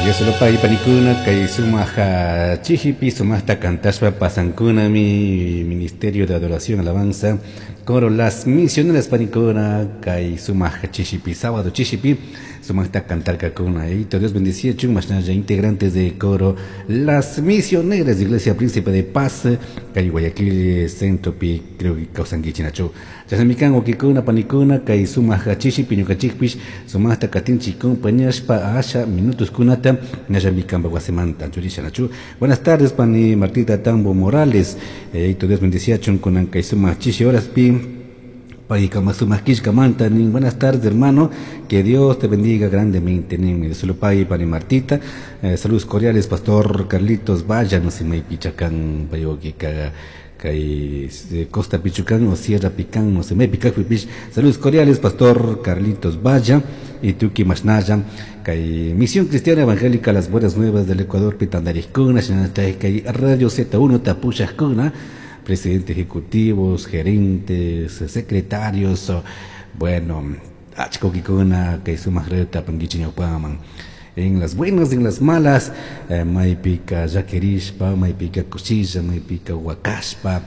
Dios lo pague panikuna kay sumaq chishipi sumaqta kantashpa pasankunami Ministerio de Adoración Alabanza Coro Las Misioneras panikuna kay sumaq chishipi sábado chishipi sumaqta kantarkakuna. Dios bendeciachun mashnalla integrantes de coro Las Misioneras de Iglesia Príncipe de Paz kay Guayaquil centropi creo que kawsankichinachu. Chashnamikan wawkikuna panikuna kay sumaq chishipi ñukanchikpish sumaqta katinchik compañashpa asha minutos kunata ñallamikanpak wasimanta churishanachu. Buenas tardes pani Martita Tambo Morales. Dios bendeciachun kunan kay sumaq chishi horaspi payka sumaq killkamanta nin. Buenas tardes, hermano, que Dios te bendiga grandemente nin. Dios lo pague pani Martita. Saludos cordiales, pastor Carlitos Vaya, no sé maypicha kan pay wawkika kay Costa Pichucán o Sierra Picán, no sé maypi kakpipish. Saludos cordiales, pastor Carlitos Vaya y tuki mashnalla kay Misión Cristiana Evangélica Las Buenas Nuevas del Ecuador pitandarikuna shinallatak kay Radio Z1 tapushajkuna, presidente ejecutivos, gerentes, secretarios, bueno, achka wawkikuna kay sumaq radiota apankichik ñawpaman. En las buenas, en las malas, maypika llakirishpa, maypika kushilla, maypika wakashpa.